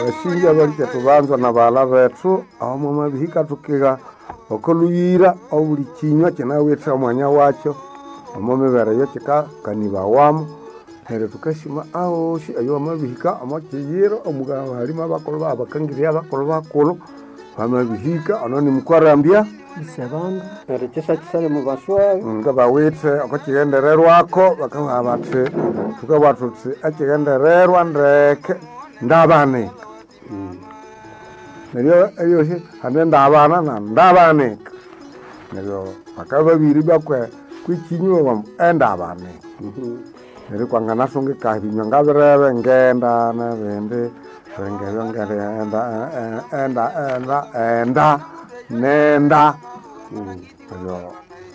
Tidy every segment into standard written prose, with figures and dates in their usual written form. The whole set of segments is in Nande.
Basinja balike tubanza na baghala bethu aho mwamabihika tukiha okoluyira obuli kinywa kinawithe omwanya wakyo omo mibere eyo kikakanibawamu. Neryo tukasima ahosi eyo wamabihika omo kiyiro omukabahalimu abakulhu abakangirya abakulhu bakulhu bamabihika ono nimukwarambya Isebandu Neryo kyisakisale mubaswayo nga bawithe okwakigendererwako bakabugha bathi thukabugha thuthi ekigendererwa ndeke ndabanika. Neryo eyosi hane ndabana na ndabanika. Neryo bakabya babiri bakwe kwikinywa bambu endabanika. Neryo kwanganasungika ebinywa ngabirebe ngenda nebindi ngebyo ngenda enda enda enda nenda neryo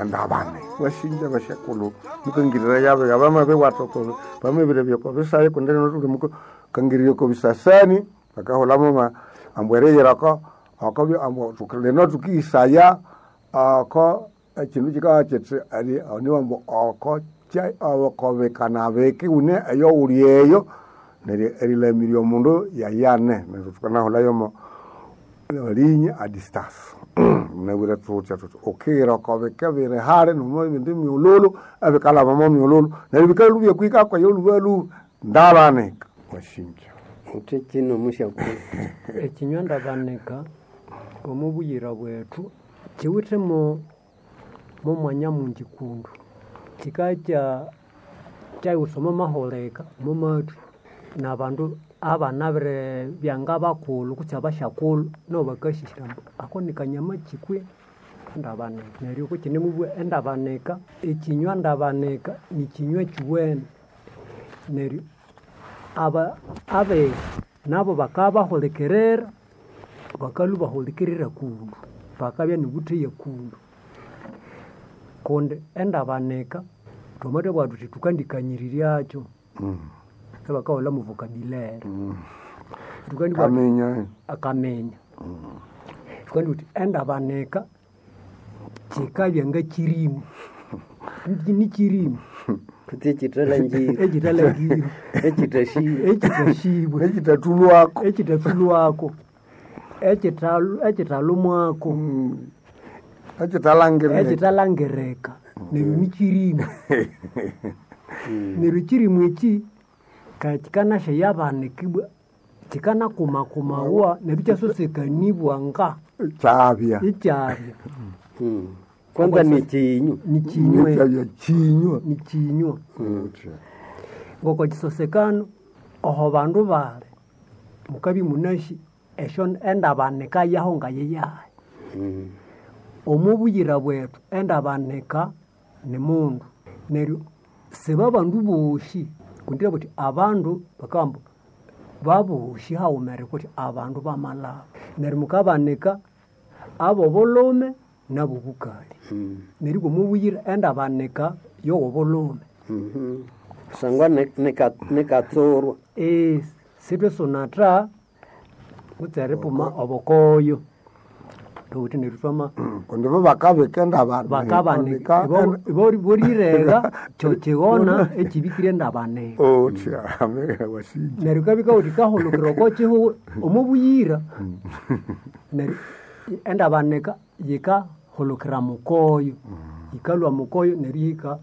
endabane wasinja basyakulhu mukangirira yabiga bamabibwatha oko bamabirabya oko bisayi kundi lino thuli mukangirira oko bisasani bakahulhamu ambu eriyira oko okobya ambu lino thukihisaya oko ekindu kikabya kithi oniwambu oko okobikana biki wune eyo wuli eyo neryo erilamirya omundu yayane neryo thukanahulhayo omo ligne a distance. Munabwire thuthya thuthi ukighira oko bike biri hali nomo ebindi myululu ebikalhaba omo myululu neryo bikalubya kwika kweyo lhubalhuba ndabanika wasinja. Uthi kino musyakulhu ekinywa ndabanika omu buyira bwethu kiwithe mo mwanya mungi kundu. Kikakya kyayiwusa omo maholeka omo mathwi nabandu abanabiribya ngabakulhu kutse abasyakulhu nabo bakasisya ambu ako nikanyama kyi kwe endabanika. Neryo kukinemubugha endabanika, ekinywa ndabanika nikinywa kyuwene. Neryo abiga nabo bakabya bahulikirira, bakalhwa bahulikirira kundu, bakabya nobutheya kundu. Kundi endabanika thwamathabugha thuthi thukandikanyiriryaku ebakahulha mu vocabulary. Thukandibugha Kaminya akaminya. Thukandibugha thuthi endabanika kikabya ngakirimu, nikirimu kutse ekithalangire ekithalangire ekithasibwe ekithasibwe nekitathulwako ekithathulwako ekithalumwako ekitalangirika ekithalangirika neryo nikirimu. Neryo ekirimu eki kikanasyayabanikibwa kikanakumakumawa neryo ikyasosekanibwa nga kyabya ikyabya kwanza nikinywa nikinywa kyabya kinywa nikinywa ngoko kisosekano oho bandu bali mukabya imunasi esyo endabanika yaho ngayiyahi. Omo buyira bwethu endabanika ni mundu. Neryo sibabandu bosi kundi buthi abandu bakabugha ambu babosi haghumere kuthi abandu bamalhaba. Neryo mukabanika abobulhume nabobukali. Neryo omo buyira endabanika yowobulhume. kusangwa nikatsurwa Sithwesunatha kutse eripuma obukoyo. Thuwithe neryo thwama kundi bo bakabika endabanika bakabanika ibo bolirega kyokighona ekibikire endabanika. otya wasinja Neryo kabika wuthi kahulukira oko kihugho omo buyira. Neryo endabanika yikahulukira mukoyo, yikalhwa mukoyo neryo ihika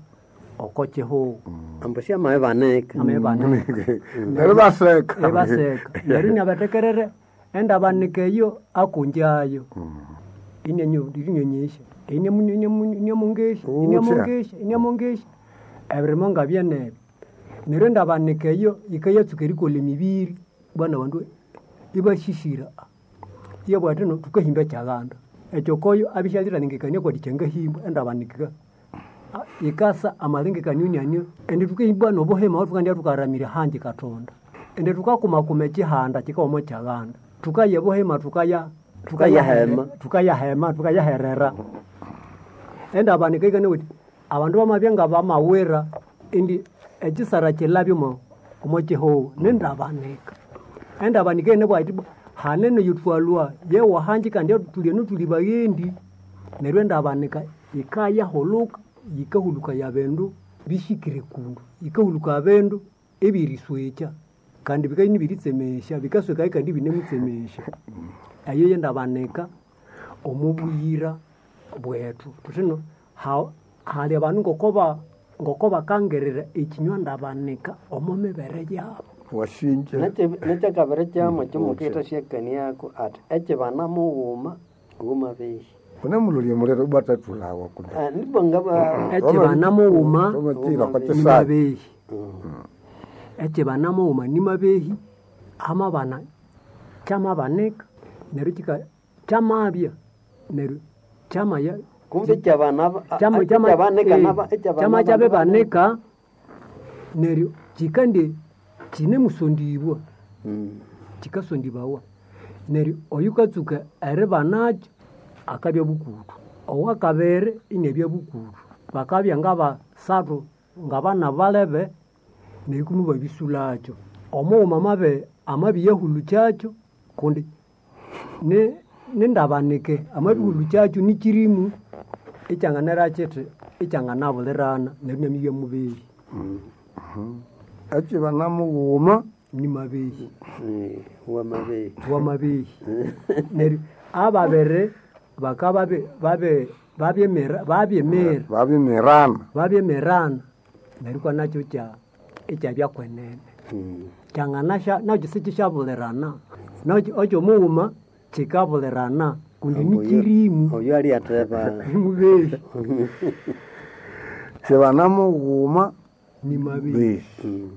oko kihugho. ambu syamabibanika Amabibanika. neryo baseka Ibaseka. Neryo inabathekerere endabanika eyo akunjayo. Inianyonyesya, iniamungesya, iniamungesya, iniamungesya ebirimo ngabyenebyo. Neryo endabanika eyo yikayatsuka erikolha emibiri bwana abandu ibasisira iyabugha athi no thukahimba ekyaghanda. Ekyokoyo abya isyalithalengekania kwati kyangahimbwa endabanika yikasa amalengekanio inianio indi thukahimba nobuhima aho thukandya thukaramira hangi kathonda. Indi thukakumakuma ekihanda kikawuma omo kyaghanda. Thukaya obuhima thukaya Thukayahema. Thukayahema thukayaherera. Endabanika yikanabugha yithi abandu bamabya ngabamawira indi ekisara kilabya omo kihugho nindabanika. Endabanika yinabugha yithi bwa hanene eyithwalhwa yewahangi kandi thuli enu thuli baghendi. Neryo endabanika yikayahuluka yikahulukaya bindu bisikire kundu, yikahulukaya bindu ebyeriswekya. Kandi bikabya ibiritsemesya, bikaswekayo kandi ibinemutsemesya. Eyo yendabanika omo buyira bwethu. Thuthi ino hali abandu ngoko bakangirira ekinywa ndabanika omo mibere yabo. Wasinja. Nekyakabiri kyamo kyomukithasyakaniako ati ekyibana mughuma wumabehi. Unemulolya muliro ibwathathulhawa kundi. Nibwa ngaba Ekyibana mughuma Twamatira kwa kyisaya. nimabehi. Ekyibana mughuma nimabehi, amabana kyamabanika neryo kika kyamabya neryo kyamaya kumbe kyabana ekyabanika kyama kyabibanika neryo kikandye kinemusondibwa, kikasondibawa. Neryo oyukatsuka eribanakyo akabya bukutu, owakabiri inabya bukutu. Bakabya ngabasathu ngabana balebe neryo kumi babisulakyo. Omughuma amabiyahulukyakyo kundi nindabanike amabihulukyakyo nikirimu ekyanganera kithi ekyanganabulirana neryo inamibya mubehi. Ekyibana mughuma Nimabehi. Wamabehi. Wamabehi. Neryo ababiri bakaba babyemira Babyemirana. Babyemirana neryo kwa nakyo ekyabya kwenene. Kyanganasya nakyo sikisyabulirana. Nakyo ekyomughuma kikabulirana kundi nikirimu. Oyo alyatheba. Nimubehi. Kyibana mughuma Nimabehi. behi.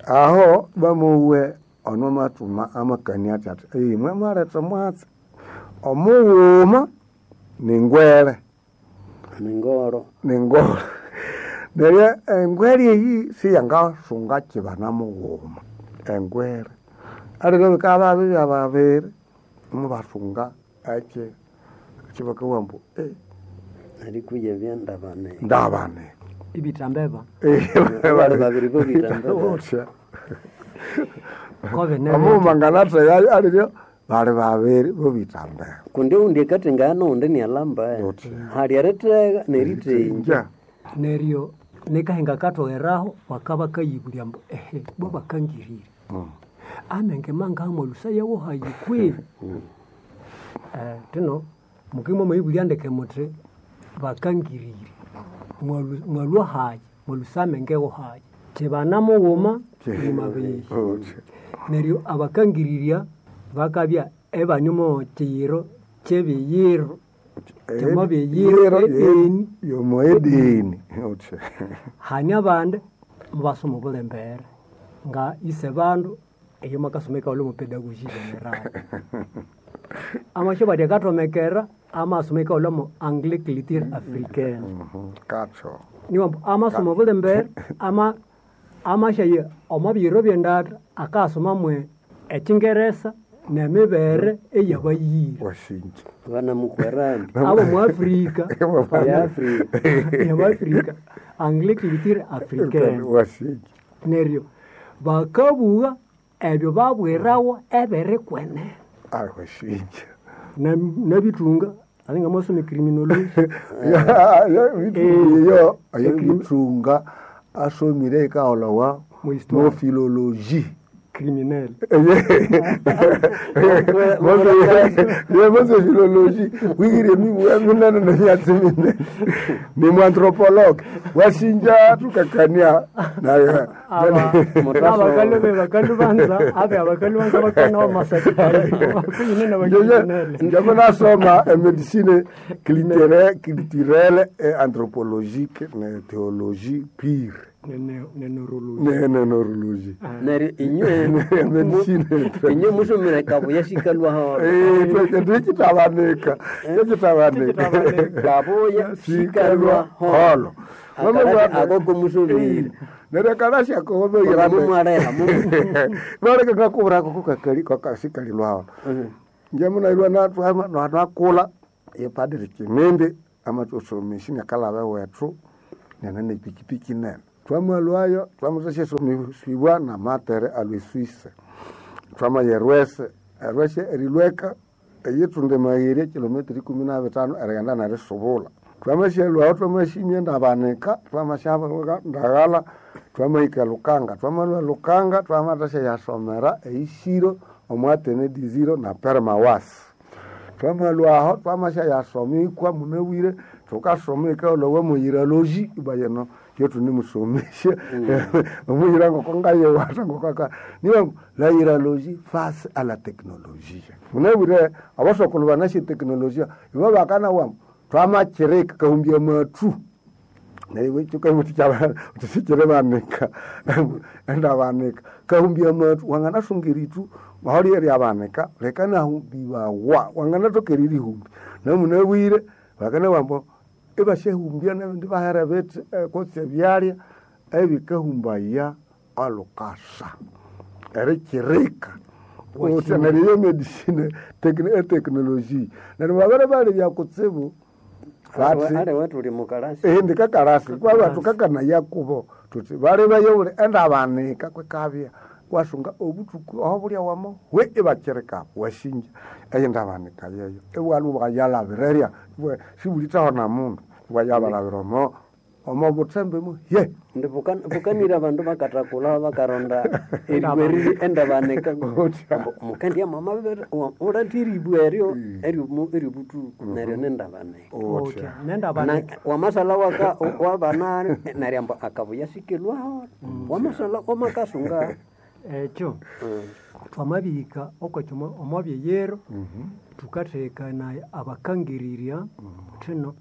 Aho bamuwe ono mathuma amakania athi athi imwe mwaletha omwatsi. Omughuma ningwere. Ningoro. Ningoro. Neryo engwere eyi siyangasunga kyibana mughuma. Engwere. Aliro bikabya bibya babiri mubasunga ekyi bakabugha ambu Erikuya ebyandabane. Ndabane. Ibithambeba. Bali babiri bobithambeba. Utya. Kobe Omughuma nganatheya aliryo bali babiri bobithambeba. Kundi oundi akathengana nowundi inialhamba. Utya. Hali erithega nerithenja. Neryo nikahinga akathogheraho bakabakayibulya ambu ehe bo bakangirire. Amenge mangaha olusaya wohayi kwi? Thino mukimwa mwayibulya ndeke muthi bakangirire. Mwalwa hayi? Mwalusa amenge wohayi? Kyibana mughuma nimabehi. Utya. Neryo abakangirirya bakabya ebanyuma kyiyiro kyebiyiro kyamabiyiro edini. Yomo edini. Utya. Hane abandi mubasoma obulembere nga ise bandu eyo makasoma ekaghulha omo pedagogy general. Amasyo bati akathomekera amasoma ekaghulha omo anglais culture africaine. Katho. Niwambu amasoma obulembere amasyaya omo biyiro byendatha akasoma mwe ekyingeresa nemibere eyabayira. Wasinja. Banamukwera Abo mu Afrika. Ya Afrika. Abo Afrika. Anglais culture africaine. Wasinja. Neryo bakabugha ebyo babwirawa ebirikwenene. Wasinja. Nabithunga alinga amasoma criminology. Yo ayebithunga asomire ekaghulhawa Mu mo philologie. Criminel. Mose philologie wigire mibugha minene nemyatsi minene. Ni muanthropologue. Wasinja thukakania naye. Abakalu banza abe abakalu banza bakana masakari. Kuyine nabacriminel. Njama nasoma medicine culturelle et anthropologique ne théologie pure. Ne neurologie. Ne neurologie. Neryo inywe Medicine. inywe musomere kabuya sikalwa holo. Kyekitabanika. Kyekitabanika. Kabuya sikalwa holo. Akarashi akoko musomire. Neryo akarashi ako Mumwaleha Baleka ngakubura kukakali kakasikalilwa holo. Njamunailwa natwakula yepadiri Kimindi amathusomesya inakalaba ewethu nene nepikipiki nene. Twamalwayo twamuthasyasomisibwa namatere alwe Swisse. Twamaya erwese, erwese erilweka eyithunda emagheri kilometer ikumi na bitano erighenda nerisubula. Twamashalwaho twamashinya ndabanika, twamashabaga ndagala, twamahika Lukanga, twamalwa Lukanga, twamatasha yasomera eishiro omwatene diziro na permawasi. Twamalwaho twamasha yasomikwa munabwire, tukasomika olowa muyiraloji ibayeno yotunemusomesha omuyira ngoko ngayewata ngokaka niyo la yiraloji face à la technologie. Munabwire abasokolo banashe teknolojia ibo bakana wamu twamakirika kahumbya mathu neryo tusikire banika endabanika kahumbya mathu wanganasunga eritu maholi eryabanika leka nahumbiwawa wanganatoka eririhumbi namunabwire bakana wambo ibasyahumbya nabindi bahera bithi kutse ebyalya ebikahumbaya alukasa erikirika kutse neryo iyo medicine eteknoloji neryo babere balebya kutsibu bathi Alewe tuli mukalasi. Ehe ndikakalasi kwaba tukakanaya kubo tuti balebayo buli endabanika kwekabya wasunga obuthuku aho bulya wamo we ibakirika wasinja eyo ndabanika yeyo iwalu bwayalabirerya sibulithaho na mundu bwayabalabira omo omo buthembe mu ye Ndi bukanira abandu bakathakula bakaronda eribwa eriri endabanika. Otya. Mukendya mama uletha eribwa eryo eryobuthuku neryo nendabanika. Otya. Nendabanika. Wamasala waka wabana neryo ambu akabuya sikilwaho. Wamasala wamakasunga. Ekyo twamabihika okwekyo omo byeyero tukathekanaya abakangirirya thino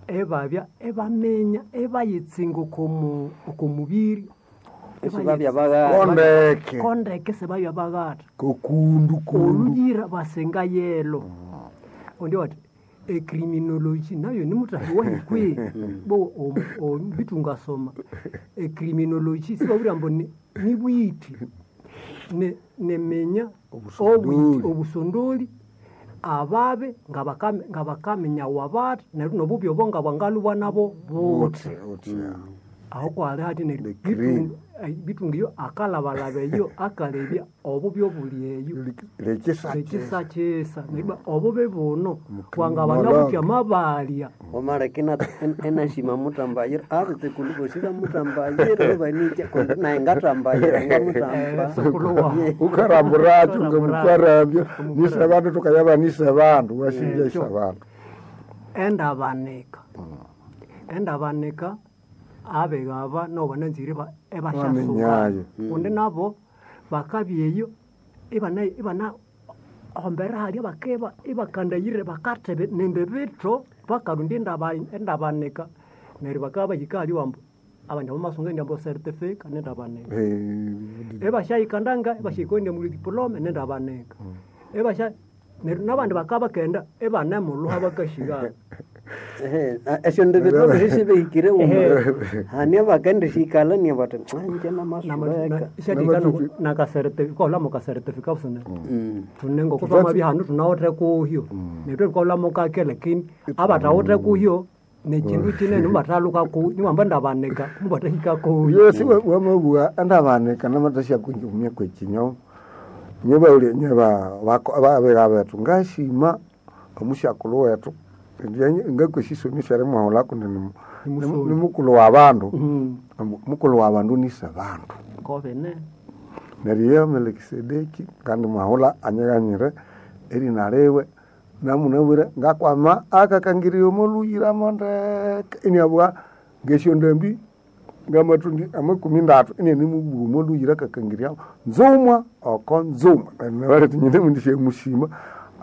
ebabya ebaminya ebayitsinga oko mubiri Isibabya baghatha. Kondeke. Kondeke sibabya baghatha. Kokundu kundu. Oluyira basenga yelo. Ondi wati ecriminology nayo nimutahi wahikwe bo bitu ngasoma ecriminology sibabwira mbu ni bwiti neminya Obusondoli. Obusondoli ababe ngabakaminya wabati neryo nobubi obo ngabwangalubwa nabo buthi. Otya. Aho kwali hati neryo The cream. bitunga iyo akalabalaba eyo akalebya obubi obuli eyo Lekisakisa. ekisakisa neryo obubi buno Mukriminologue. wangabana buthi amabalya Wamaleka enashima mutambayira abetsekulu bosi bamutambayira banikya kundi naye ngatambayira ngamutamba. Sokulu wawu. Ukaramburatyo ngamukwarambya nise bandu tukayaba nise bandu wasinja ise bandu. Endabanika endabanika abegaba nabo bananzire ebashasuka Bamenyayo. kundi nabo bakabya eyo ibana ibana hombera halya bakeba ibakandayire bakathebe nende bitho bakarunda endabanika neryo bakaba bahika halya wambu abandi bamasunga endyambo certificate nendabanika ebashayikandanga ebashayikondya muli diploma nendabanika ebasha neryo nabandi bakaba bakenda ebanemulhuha bakashigana. Esyo ndebetho sisibehikire uma hania bakendishikala nia bati nje namasuleka. Nakacertificate kacertificate busana tune ngoko twamabya hanu tunawithe kuhyo neryo twikaghulhamo kake lakini abathawithe kuhyo nekindu kinene mubathaluka ku niwamba ndabanika mubathahika kuhyo. Yesi wamabugha endabanika namathasya kunjumya kwekinyo nyebauli nyeba babega bethu ngashima omusyakulhu wethu ngakwesisomisa erimwahulha kundi Nimusomi. ni mukulhu wa bandu. Mukulhu wa bandu nise bandu. Kobene. Neryo iyo Melikisedeki kandi mwahulha anyighanyire erina liwe namunabwire ngakwama akakangirya omolhuyiramo ndeke iniabugha ngesyondambi ngamathundi amakumi ndatu inianimubuha omolhuyira akakangirya nzumwa oko nzumwa. Neryo nyine mundisyamushima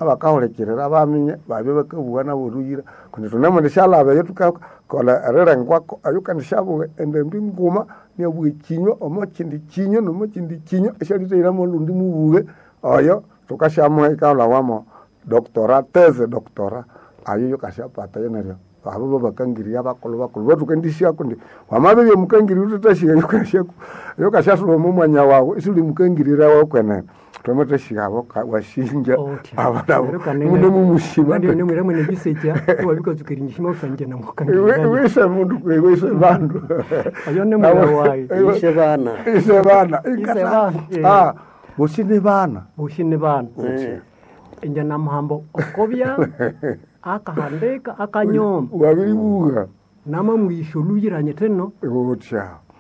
abakahulikirira baminya babya bakabuha nabo olhuyira kundi thunemundishalaba eyo thukakolha erilengwako eyo kandisyabuha endambi nguma niabuha ekinywa omo kindi kinywa nomo kindi kinywa esyalithahiramo olundi mubuhe oyo thukasyamuha ikaghulhawamo doctora teze doctora ayo yokasyapatayo neryo abo babakangirya bakulhu bakulhu bathukandisya kundi wamabibya mukangirya uthathasyiga yokasyasuba omo mwanya wawu isuli mukangirira wakwenene thwamathasyiga abo wasinja abanabo munemumushima Nimwira mwene bisekya iwabikatsuka erinyishima usanje namukangirira. wise mundu wise bandu. Oyo ni mwira wayi. Ise bana. Ise bana. Ise bana, eh. Bosi ni bana. Boshi ni bana. Inje namuhamba okobya Akahandika akanyoma Wabiribuga namamuyisha oluyiranye tino utya.